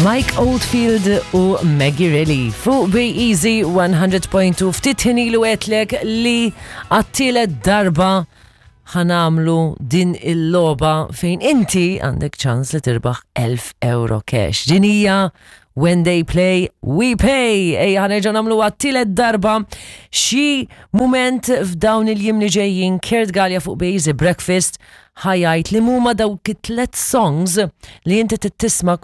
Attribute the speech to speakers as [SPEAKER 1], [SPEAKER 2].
[SPEAKER 1] Mike Oldfield u Maggie Reilly fuq Be Easy 100.2 ftit ħin ilu għedtlek li għat-tielet darba ħanamlu din il-logħba fejn inti għandek ċans li tirbaħ 1000 euro cash. Din hija When they play, we pay. Ejja ħanerġa' nagħmlu għat-tielet darba xi mument f'dawn il-jiem li ġejjin Kurt Galea fuq Be Easy Breakfast ħa jgħid li huma dawk it-tlet songs li inti tisma'